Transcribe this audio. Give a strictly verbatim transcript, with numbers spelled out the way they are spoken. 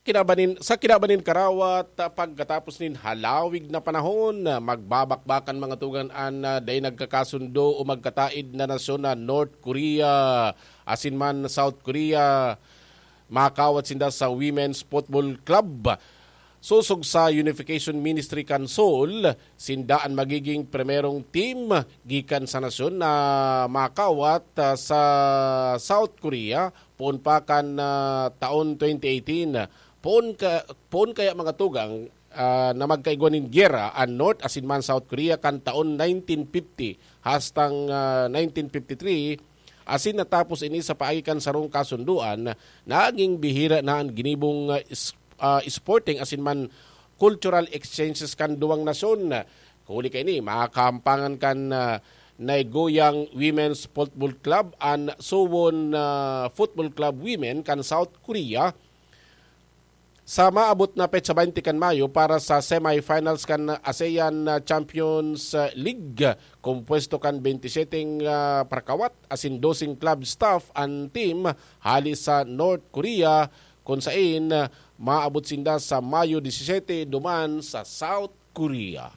Kinabanin, sa kinabanin karawat, ah, pagkatapos nin halawig na panahon, ah, magbabakbakan mga tugang an, ah, dai nagkakasundo o magkataid na nasyon na North Korea asin man South Korea. Makawat sinda sa Women's Football Club. Sosog sa Unification Ministry kan Seoul, sinda an magiging primerong team gikan sa nasyon na makawat, ah, sa South Korea poon pa kan, ah, taon twenty eighteen. Poon ka, poon kaya mga tugang, ah, na magkaigwa nin giyera an North asin man South Korea kan taon nineteen fifty hastang, ah, nineteen fifty-three, asin natapos ini sa paagi kan sarong kasundoan, naging bihira na an ginibong, ah, is-, ah, sporting asin man cultural exchanges kan duwang nasyon. Huli kaini, makahampangan kan, ah, Nagoyang Women's Football Club an Suwon, ah, Football Club Women kan South Korea sa maabot na petsa twenty kan Mayo para sa semifinals kan ASEAN Champions League. Kompuesto kan twenty-seven, ah, parakawat asin doseng club staff an team hali sa North Korea, kun sain, ah, maabot sinda sa Mayo disisete duman sa South Korea.